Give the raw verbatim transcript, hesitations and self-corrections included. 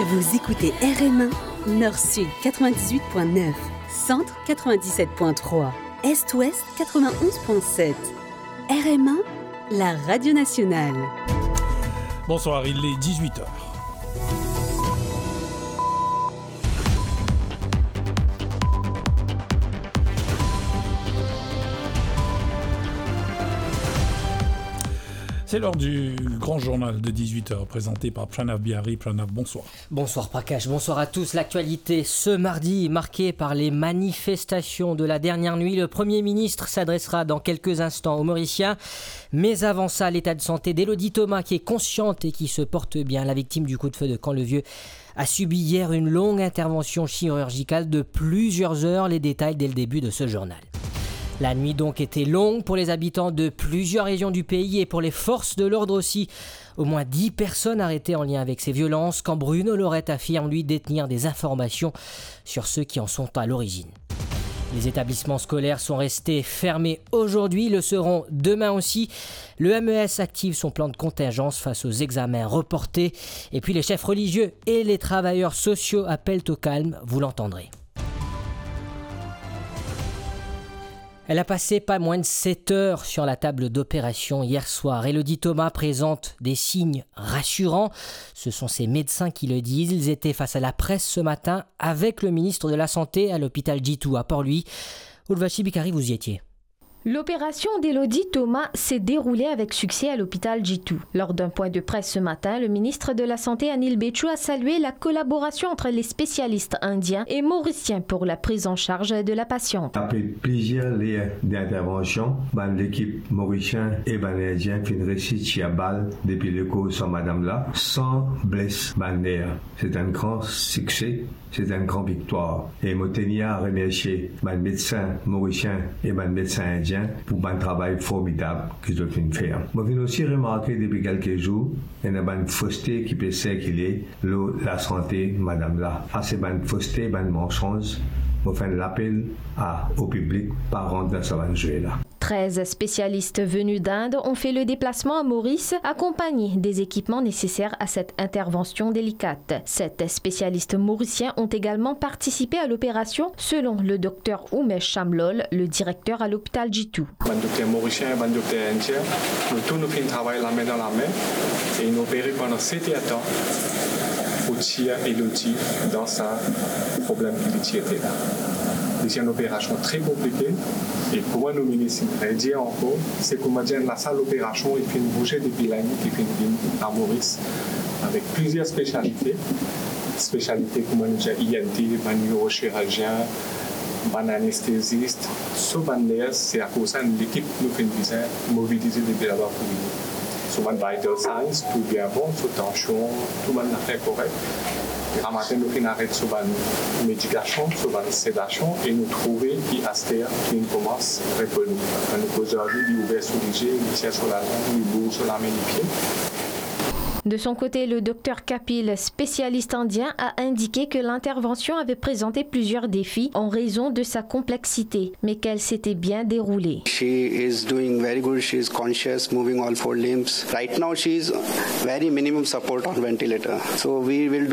Vous écoutez R M un, Nord-Sud quatre-vingt-dix-huit point neuf, Centre quatre-vingt-dix-sept point trois, Est-Ouest quatre-vingt-onze point sept. R M un, la radio nationale. Bonsoir, il est dix-huit heures. C'est l'heure du grand journal de dix-huit heures présenté par Pranav Bihari. Pranav, bonsoir. Bonsoir Prakash, bonsoir à tous. L'actualité ce mardi marquée par les manifestations de la dernière nuit. Le Premier ministre s'adressera dans quelques instants aux Mauriciens. Mais avant ça, l'état de santé d'Élodie Thomas, qui est consciente et qui se porte bien. La victime du coup de feu de Camp-le-Vieux a subi hier une longue intervention chirurgicale de plusieurs heures. Les détails dès le début de ce journal. La nuit donc était longue pour les habitants de plusieurs régions du pays et pour les forces de l'ordre aussi. Au moins dix personnes arrêtées en lien avec ces violences quand Bruno Lorette affirme, lui, détenir des informations sur ceux qui en sont à l'origine. Les établissements scolaires sont restés fermés aujourd'hui, le seront demain aussi. Le M E S active son plan de contingence face aux examens reportés. Et puis les chefs religieux et les travailleurs sociaux appellent au calme, vous l'entendrez. Elle a passé pas moins de sept heures sur la table d'opération hier soir. Élodie Thomas présente des signes rassurants. Ce sont ses médecins qui le disent. Ils étaient face à la presse ce matin avec le ministre de la Santé à l'hôpital Djitou à Port-Louis. Urvashi Bikari, vous y étiez. L'opération d'Élodie Thomas s'est déroulée avec succès à l'hôpital Djitou. Lors d'un point de presse ce matin, le ministre de la Santé, Anil Bechoo, a salué la collaboration entre les spécialistes indiens et mauriciens pour la prise en charge de la patiente. Apre plizier ler d'intervansion, bann lekip morisien e bann indien finn resi tir bal depi lekoz sa madam la, san bles bann ler. Se enn gran sikse. Se enn gran viktwar. E mo tenir a remersie bann medsin morisien e bann medsin indien pou bann travay formidab ki zot finn fer. Mo finn osi remarke depi kelke zour, ena bann foste ki pe sirkile lor lasante madam la. Sa se bann foste, bann mansonz. Mo fer enn lapel a, o piblik, pa rant dan sa bann zwe la. Treize spécialistes venus d'Inde ont fait le déplacement à Maurice, accompagnés des équipements nécessaires à cette intervention délicate. Sept spécialistes mauriciens ont également participé à l'opération, selon le docteur Oumesh Shamlol, le directeur à l'hôpital Djitou. Bann dokter morisien, bann dokter indien, nou tou nou finn travay lame dan lame e nou opere pandan set er tan pou tir Élodie dan sa problem ki li ti ete la. Li ti enn operasion tre konplike. E kouma nou minis inn redir ankor, se kouma dir enn lasal operasion ki finn bouze depi lane ki finn vinn a Moris, avek plizier spesialite. Spesialite kouma nou dir I N T, bann nirochirizien, bann anestezis, so bann ners, se akoz sa enn lekip nou finn bizin mobilize depi laba pou vini. So bann vital signs, tou bien bon, so tansion, tou bann zafer korek. Gramatin nou finn aret so bann medikasion, so bann sedasion, e nou trouve ki aster li finn koumans reponi. Kan nou koz ar li, li ouver so lizie, li tir so laleng, li bouz so lame, lipie. De son côté, le docteur Kapil, spécialiste indien, a indiqué que l'intervention avait présenté plusieurs défis en raison de sa complexité, mais qu'elle s'était bien déroulée. She is doing very good. She is conscious, moving all four limbs. Right now, she is very minimum support on ventilator. So we will do